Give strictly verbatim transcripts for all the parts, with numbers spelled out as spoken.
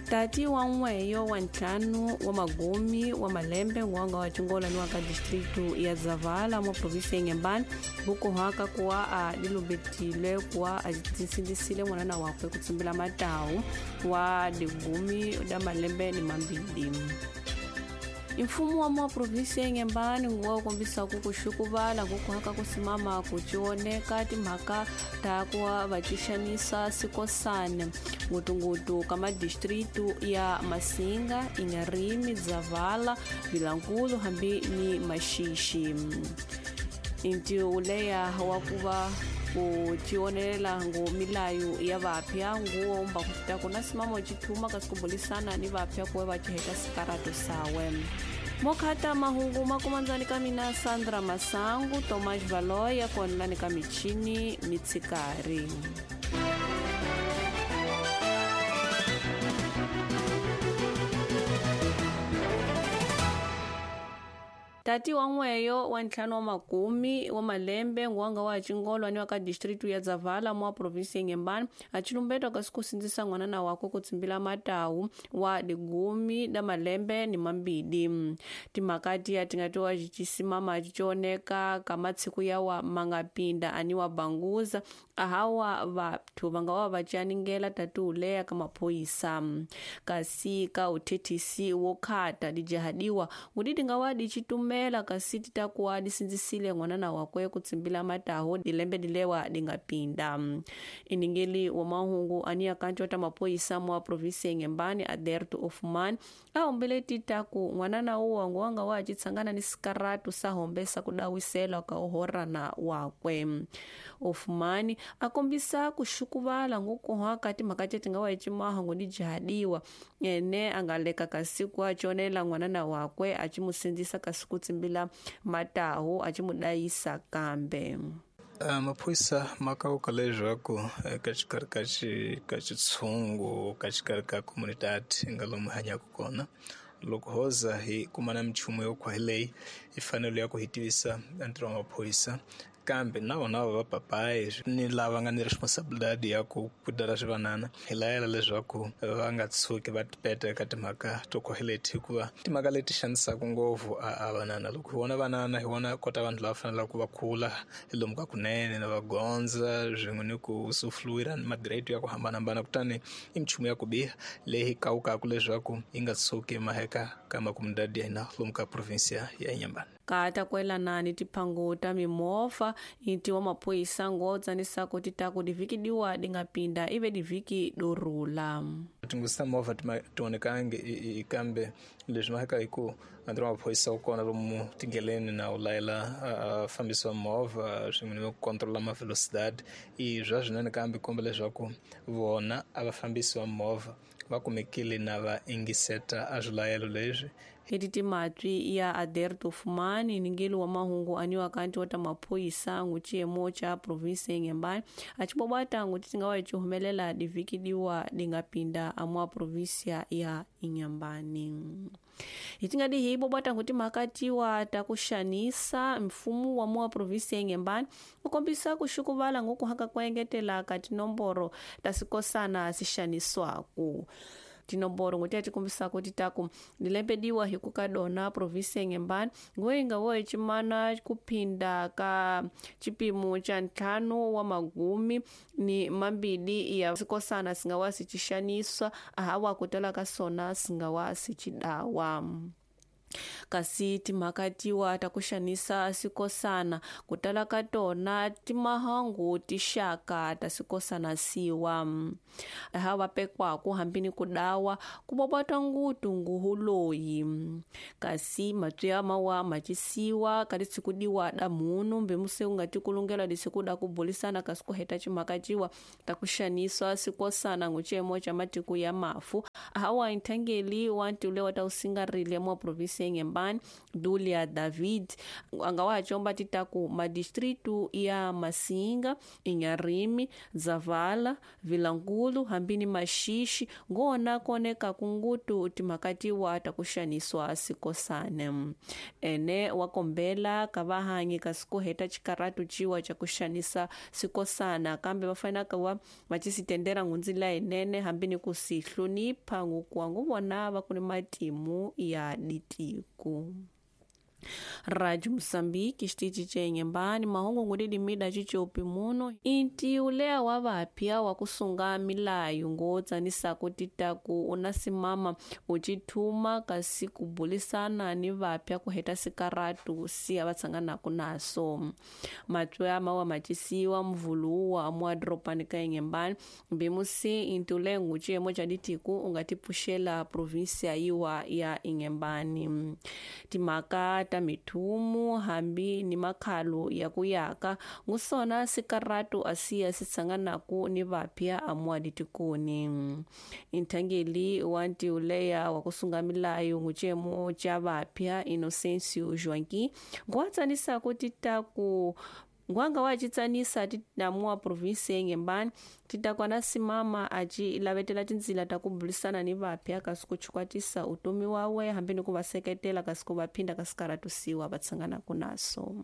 Tati wa n'weyo wa ntlhanu wa magumi wa malembe ngwanga wa Chingola ni wa ka distritu ya Zavala mwa provinsi ya Inhambane vukuhaka kuwa a dilumbetile kuwa a tisindisile mwanana wakwe kutsimbila matawu wa digumi da malembe ni mambili. Mfumo wa mwa provinsi ya Inhambane nguwa kombisa kukuxukuvala kukuhaka kusimama kuchioneka timhaka ta kuwa vaxixanisa sikosane ngutungutu ka madistritu ya Masinga, Inharime, Zavala, Vilankulu hambi ni Maxixi. Inti uleya wa kuva kuchionelela ngu milayo ya vapya nguo mba kufita kuna simamo chithuma kasikubulisana ni vapya kuwe vachiheta sikarato sawe. Mokhata mahungu makumanzani kamina Sandra Masangu, Tomás Valoya kuonelani kamichini mitsikari. Tati wa n'weyo wa ntlhanu wa makumi wa malembe ngwanga wa Chingolwa ni wa ka distritu ya Zavala mwa provinsi ya Inhambane achilumbetwa kasi kusindzisa n'wanana wakwe kutsimbila matawu wa digumi da malembe ni mambili. Timhaka tiya tingatiwa xichisimama achichioneka ka matsiku yawa mangapinda ani wa banguza ahawa vathu vanga wa vacianingela tati uleya ka maphoyisa kasi ka uthethisi wo khata dijahadiwa ngudi tingawa dichitumela kasi titakuwa disindzisile n'wanana wakwe kutsimbila mataho dilembe dilewa dingapinda. Iningeli wa mahungu ani akanti wa maphoyisa mwa provinsi ya Inhambane Aderto Ofman ahombele titaku n'wanana uwa nguwanga wa chitsangana ni sikaratu sahombesa kudawisela ka uhorana wakwe. Ofman akombisa kuxukuvala ngukuhaka timhaka tetingawa ecimaha ngu dijahadiwa ene angaleka kasi achionela n'wanana wakwe achimusindzisa kasi kutsimbila matahu achimudayisa kambe. Uh, maphoyisa ma kauka leswaku ka xikarhi ka xi ka xitshungu ka xikarhi ka comunidade nga lomu hanyaka kona loko hoza hi kumana minchumu yo khwahi leyi hi fanele ya ku hi tivisa ntirho wa maphoyisa kambe na vona va papayi ni lava nga ni responsibility ya ku kudala swivanana hi layela leswaku va nga tshuki va tipeta eka timhaka to khwahi leti hikuva timhaka leti xanisaka ngopfu a vanana loko hi vona vanana hi vona kota vanhu lava fanelaka va kula hi lomu ka kunene na va gondza swin'we ni ku sufluwira ni magrade ya ku hambanahambana kutani i minchumu ya ku biha leyi kawukaka leswaku yi nga tshuki maheka ka makomunidadi ya hina lomu ka provinsia ya Inhambane. Kata kwelana ni tiphango ta mimovha inti wa maphoyisa ngotsanisako titaku divhiki diwa dingapinda ive divhiki dorula. Tinghozi ta movha tionekangi kambe leswi maheka hi ku ntirho wa maphoyisa wu kona lomu tindleleni na wu layela fambisi wa movha swin'we ni ku controla ma velocidade i bya swinene kambe komba leswaku vona a vafambisi va movha va kumekile na va ingiseta a swilayelo leswi. Eti timatwi ya Aderto Fumani ningeli wa mahungu aniwa kanti wa maphoyisa ngu xiyimo xa provinsi ya Inhambane achibobata ngu tingawa ichihumelela divhiki diwa dingapinda amwa provinsia ya Inhambane. Hitingadi hi bobata ngu timhaka tiwa ta kuxanisa mfumo wa mwa provinsi ya Inhambane ukombisa kuxukuvala ngu kuhaka kuengetela ka tinomboro ta sikosana sixaniswaku. Tinomboro nguti tikombisa kuti taku dilembediwa hi ku ka dona provinsi ya Inhambane ngoyinga wo chimana kuphinda ka chipimo cha ntlhanu wa magumi ni mambili ya sikosana singawa sichixaniswa ahawa kutala ka sona singawa sichidawa. Kasi timhaka tiwa ta kuxanisa sikosana kutala ka tona timahangu tixaka ta sikosana siwa hawa pekwaku hambini kudawa kubobota ngutu nguhuloyi kasi matwi mawa machisiwa kali sikudiwa da munu mbemuse ungati kulungela disikuda kubulisana kasi kuheta chimhaka ciwa ta kuxaniswa sikosana nguchemo cha matiku ya mafu hawa inthangeli wanti ule wa ta usingarile mwa provinsi ya Inhambane Dulia David angawa chomba titaku madistritu ya Masinga, Inharime, Zavala, Vilankulu hambini Maxixi ngona koneka kungutu timakatiwa takuxaniswa sikosane ene wakombela kavahanyi kasikuheta chikaratu chiwa cha kuxanisa sikosana kambe vafanaka wa vacisitendera ngunzila inene hambini kusihlonipha. tsanisa ngukuwa nguvona va ku ni matimu ya ditiku. Rádio Moçambique, xitichi ca Inhambane, mahungu ngudidimida cicopi muno inti ulea wa vapya wa kusunga milayo ngotsanisa kutitaku unasimama ucithuma kasi kubulisana ni vapya kuheta sikaratu siya vatsanganaku naso matswe mawa macisiwa mvuluwa muadropani ka Inhambane mbimusi inti ulea nguciyemo ca ditiku ungatipfuxela província yiwa ya Inhambane timhaka ta mithumu hambi ni makhalo ya ku yaka ngusona sikaratu asiya sitsanganaku ni vapya amuaditikuni inthangeli wa ntiuleya wa kusunga milayo ngucemo ca vapya Inocencio Joaquim nguwatsanisa kutitaku ngwanga wacitsanisa tinamuwa província Inhambane titakwana simama aci lavetela tindzila ta kubulisana ni vapya kasi kuchikwatisa utomi wawe hambi ni ku va seketela kasi ku va phinda kasi karatusiwa va tsanganaku naso.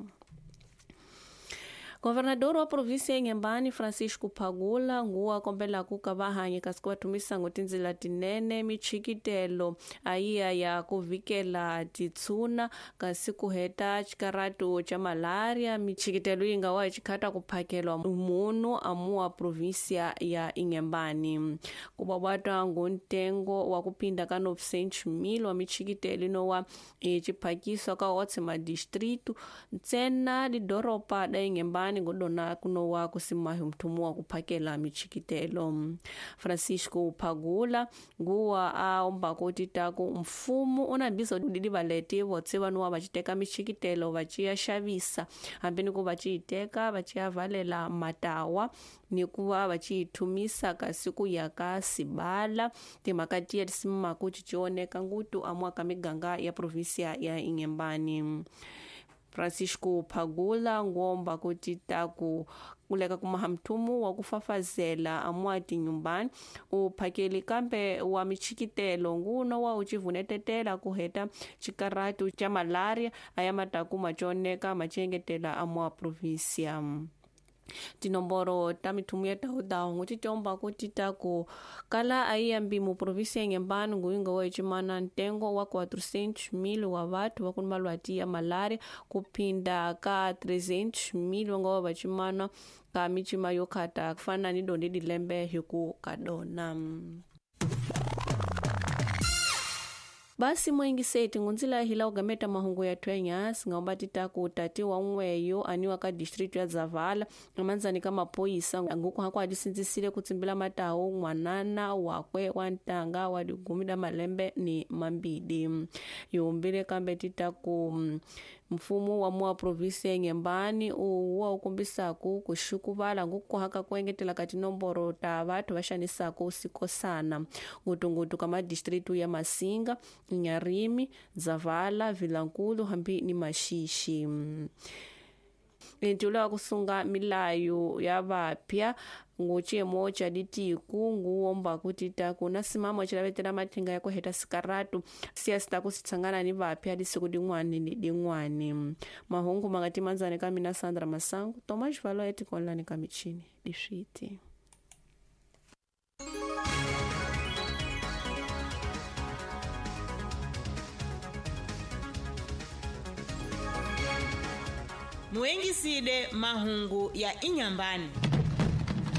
Governador wa província ya Inhambane Francisco Phagula nguwa kombelaku ka vahanyi kasi ku va thumisa ngo tindzila tinene michikitelo ayiya ya ku vikela titshuna kasi ku heta xikaratu xa malaria michikitelo yi nga wa xikhata ku phakelwa munhu amuwa província ya Inhambane ku babata ngo ntengo wa ku phinda ka novecentos mil wa michikitelo inowa xiphakiswa ka otse madistrito ntsena lidoropa da Inhambane ngodona kunowa kusimahi mthumu wa kuphakela michikitelo. Francisco Phagula nguwa aomba kutitaku mfumo unabisa udidivaleti votse vanuwa vaciteka michikitelo vaciya xavisa hambi ni ku vaciyiteka vaciya valela matawa ni ku va vaciyithumisa kasi ku ya ka sibala timhaka tiya tisimaku cicioneka ngutu amuwa ka miganga ya província ya Inhambane. Francisco Phagula ngomba kutitaku kuleka kumaha mthumu wa kufafazela amuwa tinyumbani uphakeli kambe wa michikitelo nguno wa ucivunetetela kuheta xikaratu xa malaria aya mataku maconeka macengetela amuwa província. Tinomboro ta mithumu ya tahu ngutitiomba kutitaku kala aiyambi mu província ya Inhambane nguyinga wa ecimana ntengo wa quatrocentos mil wa vathu va kuni malwati ya malaria kuphinda ka trezentos mil va nga wa vacimana ka micima yo khata kufana ni dondi dilembe hi ku ka dona. Basi mwengiseti ngunzila hila ugameta mahungu ya twenyasi ngaomba titaku tati wa n'weyo aniwa ka district ya Zavala amanzani ka mapoyisa nguku hako adisinzisile kutsimbila matawu n'wanana wakwe wa ntanga wa digumi da malembe ni mambidi yihumbile kambe titaku mfumo wa mua província ya Inhambane uwa ukombisaku kuxukuvala ngukuhaka ku engetela ka tinomboro ta vathu va xanisaku sikosana ngutungutu ka madistritu ya Masinga, Inharime, Zavala, Vilankulu hambi ni Maxixi. Ntiula wa kusunga milayo ya vapya nguciyemo ca ditiku nguwomba kutitaku na simamo cilavetela mathinga ya kuheta sikaratu siya sitaku sitsangana ni vapya disiku din'wani ni din'wani. Mahungu mangati manzani ka mina Sandra Masangu Tomas Valo etikonlani ka michini diswiti. Muengiside mahungu ya Inhambane.